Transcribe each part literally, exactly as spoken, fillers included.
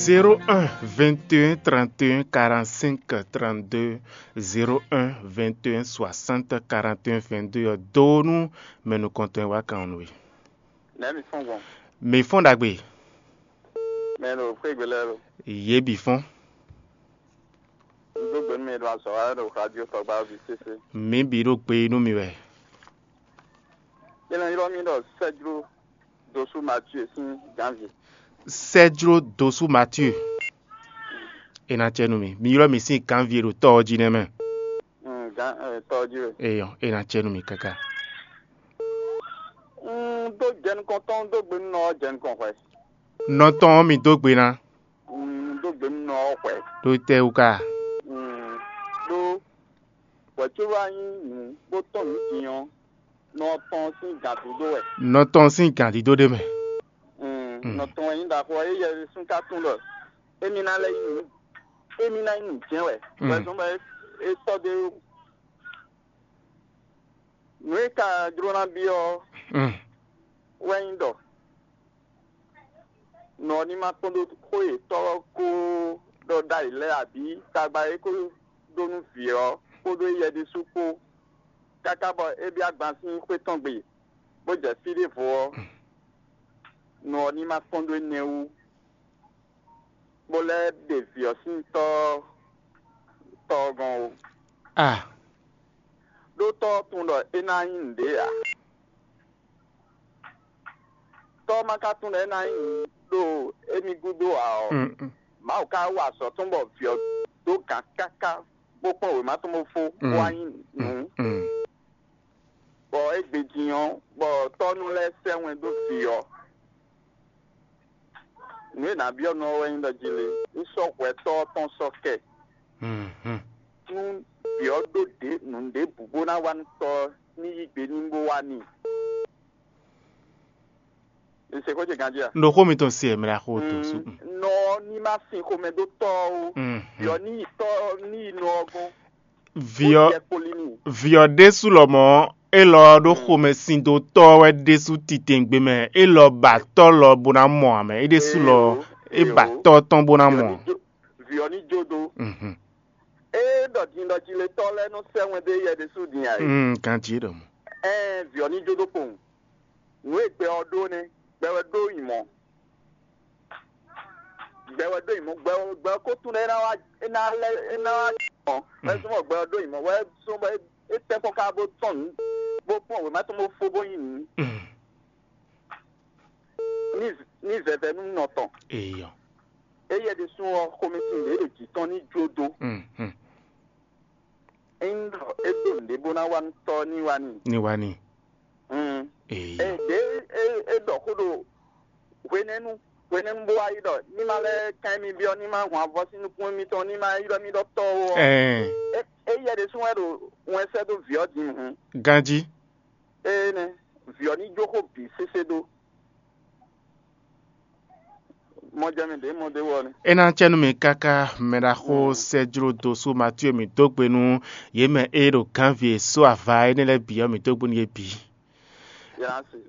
Zéro un vingt et un trente et un quarante-cinq trente-deux, zéro un vingt et un soixante quarante et un vingt-deux ɔ́ dó nú mɛ nukɔntɔn e wá kan ɔ́ nú we. Nɛ̌ mi fɔ́n gbɔn? Mi fɔ́n ɖagbe. Mɛ ɖo xwé gbe lɛ́ɛ lo? Yě bǐ fɔ́n. Un dó gbe nú mi ɖo azɔ̌ wa ɖo radio tɔgba ví sésé. Mǐ bǐ ɖo gbe nú mi wɛ. É nɔ ylɔ́ mì ɖɔ Sɛ́jló Dosú Matíe sín gǎnvǐ. Sɛ́jló Dosú Matíe. É ná cɛ nú mi. Mi ylɔ́ mì sín gǎnvǐ e ɖo tɔ́ ɔ́ jí nɛ́ mɛ. Mm, gǎn ɛ, tɔ́ jí we. Eyɔ, é ná cɛ nú mi káká. Un dó jɛ nukɔn tɔn, un dó gbe nú nɔ ɔ́ jɛ nukɔn hwɛ. Nɔ tɔn ɔ́ mi dó gbe ná. Un dó gbe nú nɔ ɔ́ hwɛ. Ɖó tɛ́ wú ká? Un ɖó hwɛ̌ có wá nyí nǔ bó tɔn nǔ din ɔ́, nɔ tɔn sín gǎn dúdó wɛ. Nɔ tɔn sín gǎn dídó ɖé mɛ. Mm, Mm. Nɔ tɔn wɛ nyí ɖaxó ɔ́, éyɛ́ ɖésú ka tunwun ɖɔ émí ná lɛ́ nyí nǔ, émí ná nyí nǔ jɛ́n wɛ. Mm. Wɛ zɔ́n bɔ é, é tɔ́ dó é wú. Nǔ e ka jló ná byɔ́ ɔ́, Mm. Wɛ nyí ɖɔ nɔ ɔ́ ní ma kpɔ́n ɖó xó yětɔn ɔ́ kó ɖɔ ɖ'ayǐ lɛ́ɛ abǐ tagba e é ko ɖó nú vǐ ɔ́ kpódó éyɛ́ ɖésú kpó, káká bɔ é byɔ́ agban sín xwé tɔn gbe, bó jɛ fí ɖěvo ɔ́, nɔ ɔ́ ní ma kpɔ́n ɖó énɛ́ wú, bó lɛ́ ɖe vǐ ɔ́ sín tɔ́ tɔ́ ɔ́ gɔ́n ó. A Ɖó tɔ́ ɔ́ tunwun ɖɔ é ná nyí nǔɖé ǎ. Tɔ́ ɔ́ ma ka tunwun ɖɔ é ná nyí nǔ ɖo émí gúdo ǎ ɔ́, Mm, mm. Mawu ka wa azɔ̌ tɔn bɔ vǐ ɔ́ dó gǎn káká bó kplɔ́n wěma tɔn bó fó, bó Mm, wá nyí nǔ. Mm. Bɔ égbé din ɔ́, bɔ tɔ́ nɔ lɛ́ sɛ́ wɛn dó vǐ ɔ́. Nǔ e nǎ byɔ́ nú ɔ́ wɛ nyí ɖɔ jí lé, un sɔ́ hwɛtɔ́ ɔ́ tɔn sɔ́ kɛ. Mhm. Nú vǐ ɔ́ ɖó ɖě nǔ ɖěbǔ bó ná wá nú tɔ́ ɔ́, ní yí gbe n'i bó wá n'i. Un se xó ce ganjí a? Ɖo xó mitɔn se mɛ la xó to Mm, su. Nɔ ɔ́ ní má sin xomɛ dó tɔ́ ɔ́ ó. Mhm. Vǐ ɔ́ ní yi tɔ́ ɔ́ ní yi nɔ ɔ́ gɔ́n. Vǐ ɔ́, Ó jɛ kpo lí n'i. Vǐ ɔ́ ɖésú lɔmɔ̌, élɔ́ ɔ́ ɖó xomɛ sin dó tɔ́ ɔ́ wɛ ɖésú titewungbe mɛ. Élɔ́ ba tɔ́ lɔ bó ná mɔ ǎ mɛ. É ɖésú lɔ, Eyo, é ba eyo. Tɔ́ tɔn bó ná Vǐ ɔ́ mɔ. Ní jó, vǐ ɔ́ ní jó dó. Mhm. Ée ɖɔ din ɖɔ jiletɔ́ lɛ́ɛ nɔ sɛ́ wɛn dó éyɛ́ ɖésú din ǎ é. Mm, ganjí ɖɔ mɔ. Ɛ́n vǐ ɔ́ ní jó dó kpowun. Nǔ e gbɛ ɔ́ ɖó nɛ́, gbɛ wɛ ɖó nyǐmɔ. Gbɛ wɛ ɖó nyǐmɔ, gbɛ ɔ́, gbɛ ɔ́ ko tunwun ɖɔ é ná wá, é ná lɛ́, é ná wá nyǐmɔ. Wɛ zɔ́n bɔ gbɛ ɔ́ ɖó nyǐmɔ, wɛ zɔ́n bɔ é, é tɛ́ kpɔ́n ká bó tɔn nǔ, bó kpɔ́n wěma tɔn bó fó bó nyi nǔ. Mm. Ní, ní vɛvɛ nú nɔ tɔn. Eyɔ. Éyɛ́ ɖésú ɔ́, xomɛsin ɖě ɖo jǐ tɔn ní jó dó. Mm, mm. Ényí ɖɔ é ɖó nǔɖé bó ná wá nú tɔ́ ní wá n'i. Ní wá n'i. Mm. Eyɔ. Ée ɖě é, é ɖɔ xó ɖo hwenɛ́nu, hwenɛ́nu bó wá yi ɖɔ ní ma lɛ́ kán mì byɔ́, ní ma hun avɔ sín nukún mitɔn, ní ma ylɔ́ mì ɖɔ tɔ́ ó ɔ́. Ɛɛ. É, éyɛ́ ɖésú wɛ ɖo wɛn sɛ́ dó vǐ ɔ́ din hǔn. Ganjí. Énɛ́, vǐ ɔ́ ní jó xó bǐ sésé dó. Mɔjɛmɛ ɖě mɔ ɖé wɔ nɛ́. É ná cɛ nú mi káká, mɛ ɖaxó Sɛ́jló dó sú Matíe mǐ dó gbe nú yě mɛ e ɖo gǎnvǐ e só ava énɛ́ lɛ́ɛ bǐ ɔ́, mǐ dó gbe nú yě bǐ.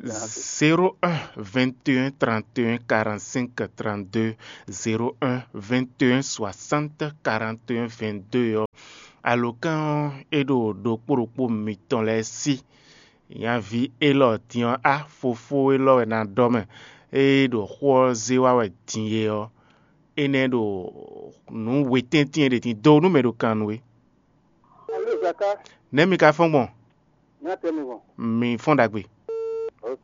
Zéro un vingt et un trente et un quarante-cinq trente-deux, zéro un vingt et un soixante quarante et un vingt-deux ɔ́, alǒkan ɔ́ é ɖo ɖokpó ɖokpó mitɔn lɛ́ɛ sí. Nyaví élɔ́ din ɔ́, á fofó élɔ́ wɛ ná ɖɔ mɛ, ée ɖo xó ɔ́ zé wá wɛ din é ɔ́, énɛ́ ɖo nǔ wetɛ́ntin e ɖe din dó nú mɛ ɖo kan nú we. Alo Zaka, Nɛ̌ mi ka fɔ́n gbɔn? Nya tɛ mi gbɔn. Mi fɔ́n ɖagbe. Ok.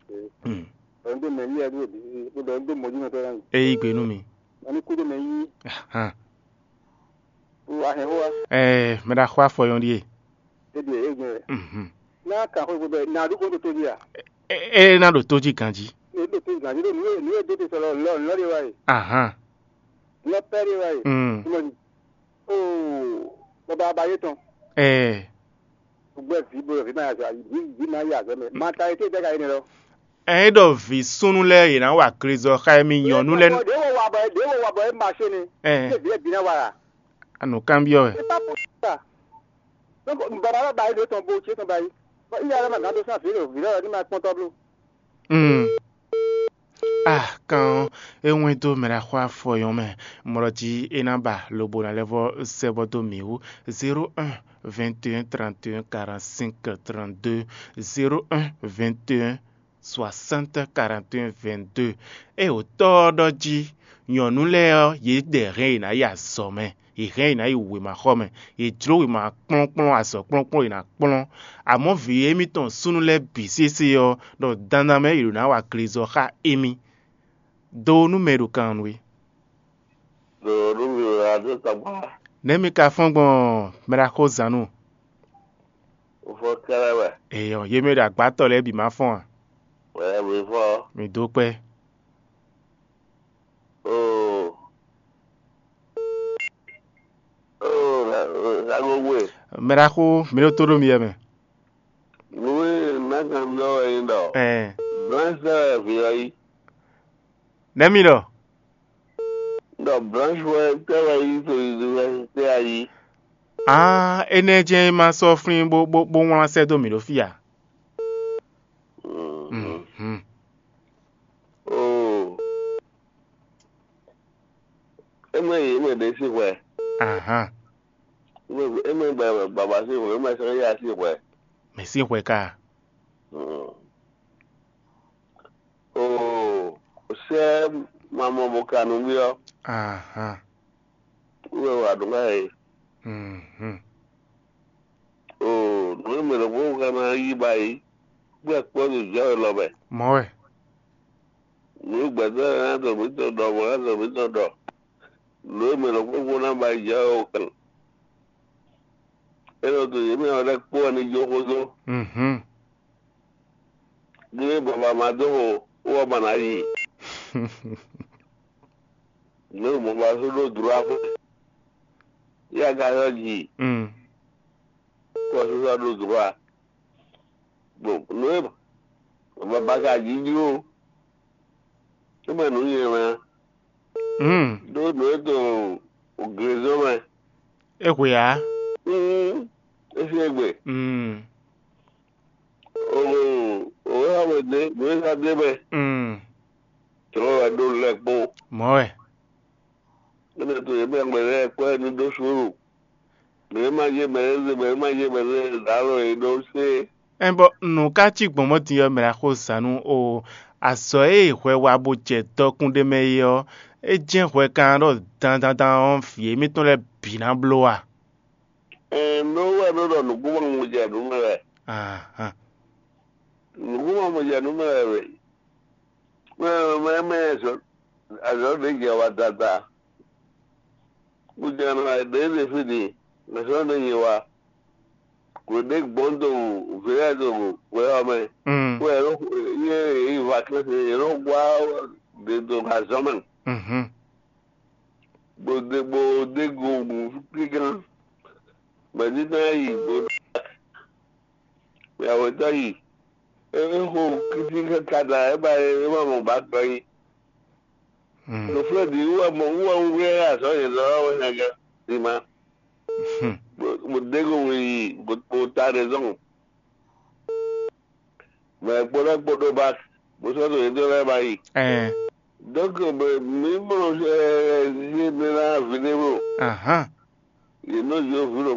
Hmm. Ɔn do mɛ yi adu bi, ko do do mɔji mɛ tɔ na. E yí gbe nú mi. Ani kudo mɛ yi. Ahan. Wa hɛn wa. Ɛɛ, mɛ ɖaxó afɔyɔn ɖíe. E ɖi e gbɛ. Mhm. Na kan xwe gbɛ na du ko to to dia. E, e na ɖo tó jí ganjí. E do to ganji do nu e nu e do te sɔlɔ lɔ lɔ de wa e. Ahan. Lɔ pɛ de wa e. Mm. Kuma ni. Oo, baba ba ye tɔn. Ɛɛ. Gbɛ vi bo vi ma ya zɔ, vi vi ma ya zɔ mɛ. Ma ta e te de ka ye ne lɔ. Ɛ é ɖɔ vǐ súnnu lɛ́ɛ yě ná wa glezɔ xá émí nyɔ̌nu lɛ́ɛ. Ɖě wo wa bɔ ɖě wo wa bɔ é ma se ne. Ɛɛ. Ṣé vǐ ɛ bí ná wa la? Anǔkanbyɔ́ wɛ. C'est pas possible ça. Donc baba lɔ ba yi ɖo tɔn bo ce tɔn ba yi. Bɔ iya lɔ ma gán dó sán vǐ lɔ vǐ lɔ ní ma kpɔn tɔ́ bló. Mm. Ah, kan ɔ́, é wɛ́n dó mɛ ɖaxó afɔ nyɔ́ mɛ. Mlɔ jí é ná ba lobo ná lɛ́ vɔ sɛ́ bɔ dó mǐ wú. Zéro un, vingt et un, trente et un, quarante-cinq, trente-deux, zéro un, vingt et un, soixante, quarante et un, vingt-deux. É wǒ tɔ́ ɔ́ ɖɔ jí nyɔ̌nu lɛ́ɛ ɔ́, yě ɖɛ hɛn yě ná yi azɔ mɛ, yě hɛn yě ná yi wěmaxɔ mɛ, yě jló wěma kplɔ́nkplɔ́n, azɔ̌ kplɔ́nkplɔ́n yě ná kplɔ́n. Amɔ̌ vǐ émítɔn súnnu lɛ́ɛ bǐ sésé ɔ́, ɖɔ dandan mɛ yě ɖo ná wa glezɔ xá émí. Do nú mɛ e ɖo kan nú we. Ɖo nú mì wɛ adó tɔgbá. Nɛ̌ mi ka fɔ́n gbɔn mɛ ɖaxó Zanu? Fɔ kɛlɛ wɛ. Eyɔ, yě mɛ ɖo agbátɔ lɛ́ɛ bǐ ma fɔ́n a? Wɛ mi fɔ. Mi dó kpɛ́. Oo. Oo, la la gogo e. Mɛ ɖaxó, mi ɖo tó ɖo mi yɛ mɛ. Nú e ná kan ɖɔ wɛ nyí ɖɔ. Ɛɛ. Blanche wɛ vǐ ɔ́ yí. Nɛ̌ mi ɖɔ? Ɖɔ Blanche wɛ tɛ́ wɛ yí to université a yí. Aa, énɛ́ jɛ́n é ma sɔ́ flín bó bó bó wlán sɛ́ dó mǐ ɖó fí a? Mhm. Oo. É mɛ yě mɛ ɖě sín hwɛ. Ahan. É mɛ baba sín hwɛ, é mɛ sɛ́n yá sín hwɛ. Mɛ sín hwɛ ka? Oo, sɛ mamɔ bo ka nɔ byɔ. Ahan. Wɛ wa ɖo ŋa e. Mhm. Oo, nǔ e mɛ ɖokpó ka ná yí ba yi, kpó akpɔ́ ɖo jɔ wɛ lɔ mɛ. Mɔ wɛ. Nǔ e gbɛtɔ́ lɛ́ɛ ná dɔ mǐtɔn ɖɔ, bɔ ná dɔ mǐtɔn ɖɔ. Nǔ e mɛ ɖokpó ná ba yi jɔ wɛ o kan. É nɔ to yě mɛ ɔ́ lɛ́ kpó wɛ ní jó xózó. Mhm. Ní baba ma dó xo, wɔ ma ná yi. Nǔ e mɔ ba só ɖó dro afɔ. Yá ka yɔ ji. Mm. Kɔ sísá ɖó dro a. Bon, nǔ e baba ka ji ji o. É mɛ nǔ nyɛ mɛ. Mm. Ɖó nǔ e to glezɔ́ mɛ. É hwe ǎ. Mm. É sín egbe. Mm. O o wɛ wá wɛ dé, nǔ e ka dé mɛ. Mm. Tɔ́ wɛ ɖó lɛ kpó. Mɔ̌ wɛ. Énɛ́ to yě mɛ mɛ lɛ́ɛ kpɔ́ ɛ ní ɖó suúlu. Mɛ e ma yé mɛ lɛ́ɛ zé, mɛ e ma yé mɛ lɛ́ɛ zǎ lɔ e ɖó sé. Ɛn bɔ nǔ ka cí gbɔn mɔ̌ din ɔ́, mɛ ná xo zǎn nú o. Azɔ̌ e hwɛ wa bó jɛ dɔkun ɖé mɛ é ɔ́, é jɛ́n hwɛ kan ɖɔ dandandan ɔ́, vǐ émítɔn lɛ́ɛ bǐ ná bló a? Ɛn nú wɛ nú ɖɔ nǔkúnmɔ mo jɛ nǔ mɛ wɛ. Ahan. Nǔkúnmɔ mo jɛ nǔ mɛ wɛ wɛ. Mɛ mɛ mɛ azɔ̌ azɔ̌ ɖě jɛ wa dada. Kújɛnɔ ɖě ɖe fí ɖi mɛ̌ sɔ́ ɖe nyi wa. Kò ɖě gbɔn do vǐ lɛ́ɛ do wɛ ɔ́ mɛ. Mm. Wɛ yě yi vacances yě nɔ gbá ɖě do azɔ̌ mɛ. Mhm. Bó ɖe bó ɖe go kíkan. Mɛ̌ títí ná yi bó ɖo yàwó tɔ́ yi. É xo kíkí káká da é ba é ma mɔ ba gbɔ yi. Mm. Ɖo flɔ́ ɖi wú wɛ mɔ wú wɛ wú wɛ azɔ̌ yě zɔ wɛ hɛngɛ ɖi ma. Hmm. Mo dé go wí yi mo ta raison. Mɛ kpɔɖɔ kpɔɖɔ ba mo sɔ́ ɖo yě dó lɛ́ɛ ba yi. Ɛɛ. Donc mi mɔ ɛ yé mi ná vidéo. Ahan. Yě nɔ yɔ vi ɖo